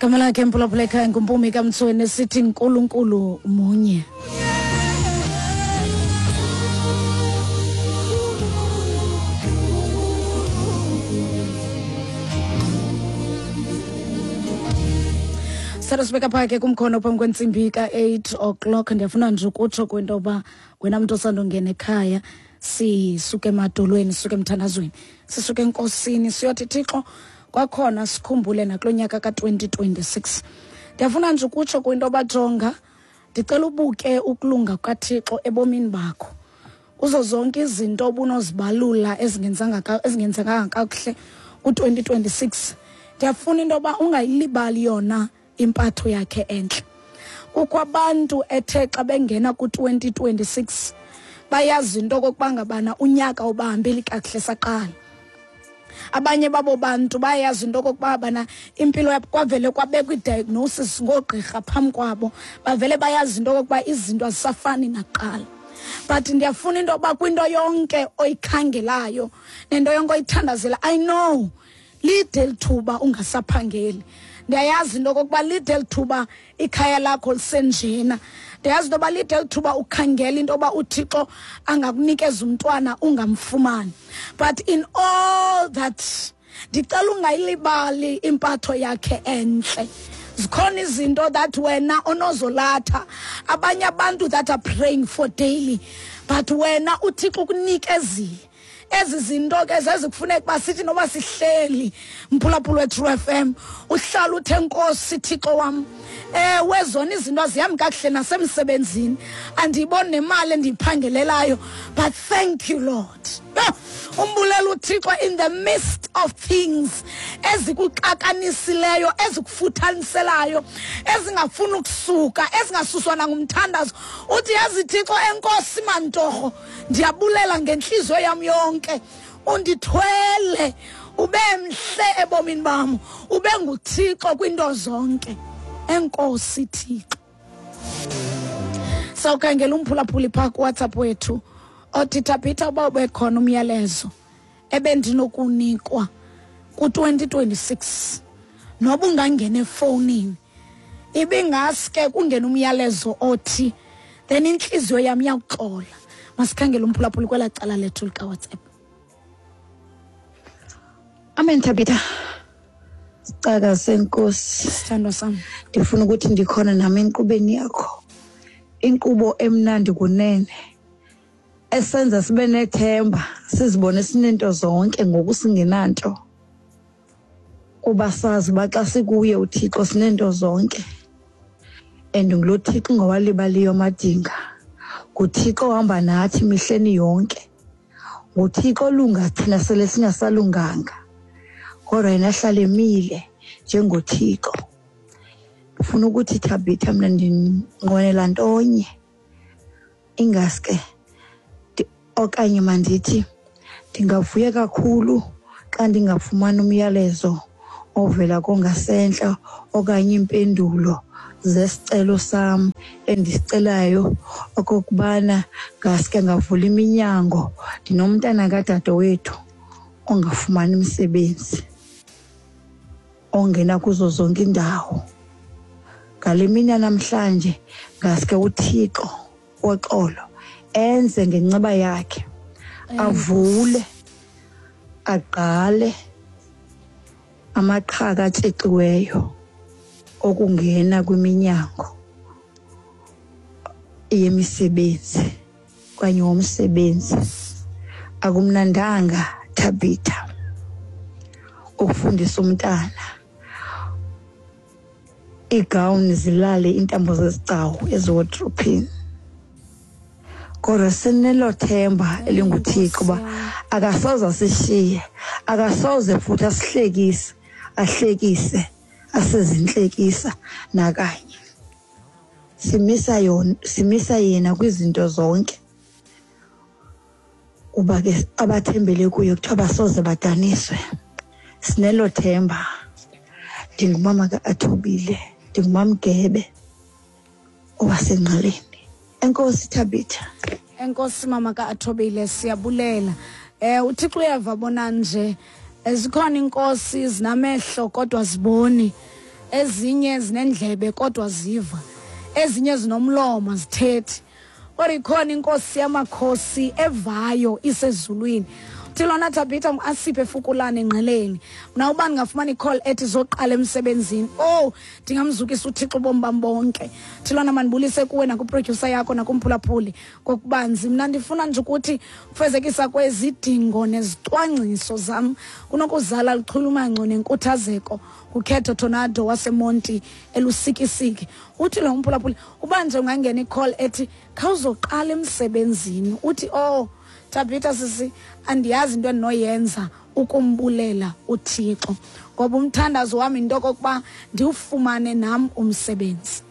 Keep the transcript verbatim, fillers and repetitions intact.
Igama lakhe mphulaphula ekhaya nguMpumi kaMtsweni, sithi Nkulunkulu munye. Sibeka phaa ke kumkhono phambi kwentsimbi ka-eight o'clock. Ndiyafuna nje ukutsho kwinto yoba wena mntu osandongena ekhaya, sisuke emadolweni, sisuke emthandazweni, sisuke enkosini, siyothi Thixo kwakhona sikhumbule nakulo nyaka ka-twenty twenty-six. Ndiyafuna nje ukutsho kwinto yoba jonga, ndicela ubuke ukulunga kukaThixo ebomini bakho. Kuzo zonke izinto obunozibalula ezingenzanga ezingenzekanga kakuhle ku-twenty twenty-six, ndiyafuna into yoba ungayilibali yona impatho yakhe entle. Kukho abantu ethe xa bengena ku-twenty twenty-six bayazi into okokuba ngabana unyaka ubahambeli kakuhle saqala. Abanye babo bantu bayazi into okokuba bana impilo yabo kwavele kwabekwa i-diagnosis ngoogqirha phambi kwabo, bavele bayazi into okokuba izinto azisafani nakuqala. But ndiyafuna into yoba kwinto yonke oyikhangelayo nento yonke oyithandazela, I know lide lithuba ungasaphangeli. Ndiyayazi into okokuba lide lithuba ikhaya lakho lisenjena. Ndiyayazi into yoba lide lithuba ukhangela into yoba uThixo angakunikeza umntwana ungamfumani. But in all that, ndicela ungayilibali impatho yakhe entle. Zikhona izinto that wena onozolatha, abanye abantu that are praying for daily, but wena uThixo ukunikezile. Ezi zinto ke zezikufuneka uba sithi noba sihleli mphulaphula weTru F M, uhlala uthe Nkosi Thixo wam, ewe zona izinto azihambi kakuhle nasemsebenzini, andiyiboni nemali endiyiphangelelayo, but thank you Lord. Umbulela uThixo in the midst of things ezikuxakanisileyo, ezikufuthaniselayo, ezingafuni ukusuka, ezingasuswa nangumthandazo. Uthi yazi Thixo, enkosi mantorho, ndiyabulela ngentliziyo yam yonke, undithwele, ube mhle ebomini bam, ube nguThixo kwinto zonke. Enkosi Thixo. Sawukhangela umphulaphuli phaa kuWhatsApp wethu othi Thabitha, uba ubekhona umyalezo ebendinokunikwa ku-twenty twenty-six, noba ungangena efowunini, ibingaske kungena umyalezo othi then intliziyo yam iyakuxola. Masikhangele umphulaphuli kwelaa cala lethu likaWhatsApp. Amen Thabitha. Sicaka senkosi, sithandwa sam, ndifuna ukuthi ndikhona nami enkqubeni yakho, inkqubo emnandi kunene esenza sibe nethemba, sizibone sinento zonke ngoku singenanto, kuba sazi uba xa sikuye uThixo sinento zonke. And ngulo Thixo ungawalibaliyo amadinga, nguThixo ohamba nathi mihleni yonke, nguThixo olunga thina sele singasalunganga, kodwa yena ahlale emile njengoThixo. Ndifuna ukuthi Thabitha, mna ndinqwenela ntonye, ingaske okanye mandithi ndingavuya kakhulu xa ndingafumana umyalezo ovela kongasentla okanye impendulo zesicelo sam endisicelayo okokubana ngaske ngavula iminyango. Ndinomntana kadadewethu ongafumani umsebenzi, ongena kuzo zonke indawo. Ngale mini namhlanje ngaske uThixo woxolo enze ngenceba yakhe, avule aqale amaqhaka atshexiweyo okungena kwiminyango yemisebenzi okanye womsebenzi. Akumnandanga Thabitha ukufundisa umntana iigawuni zilale iintambo zezigcawu eziwodrophini, kodwa sinelo themba elinguThixo uba akasoze asishiye, akasoze futhi asihlekise, ahlekise asezinhlekisa nakanye. Simisa yona, simisa yena kwizinto zonke, kuba ke abathembele kuye kuthiwa basoze badaniswe. Sinelo themba. Ndingumama ka-Athobile, ndingumamgebe owaseNgqeleni. Enkosi Thabitha. Enkosi mama ka-Athobile, siyabulela. Eh uThixo uyava bona nje, zikhona inkosi zinamehlo kodwa ziboni. Ezinye zinendlebe kodwa ziva, ezinye zinomlomo zithethi, kodwa ikhona inkosi yamakhosi evayo isezulwini. Uthi lona Thabitha asiphe efukulane engqeleni. Mna uba ndingafumana i-call ethi zoqala emsebenzini, oh ndingamzukisa uThixo ubomi bam bonke. Uthi lona mandibulise kuwe nakwiprodyusa yakho nakumphulaphuli ngokubanzi. Mna ndifuna nje ukuthi ufezekisa kwezidingo nezicwangciso zam kunokuzala luchulumanco nenkuthazeko. Kukhetho Tornado waseMonti eLusikisiki. Uthi lo mphulaphuli uba nje ungangena i-call ethi khawuzoqala emsebenzini, uthi oh Thabitha sisi, andiyazi into endinoyenza ukumbulela uThixo, ngoba umthandazo wami into okokuba ndiwufumane nam umsebenzi.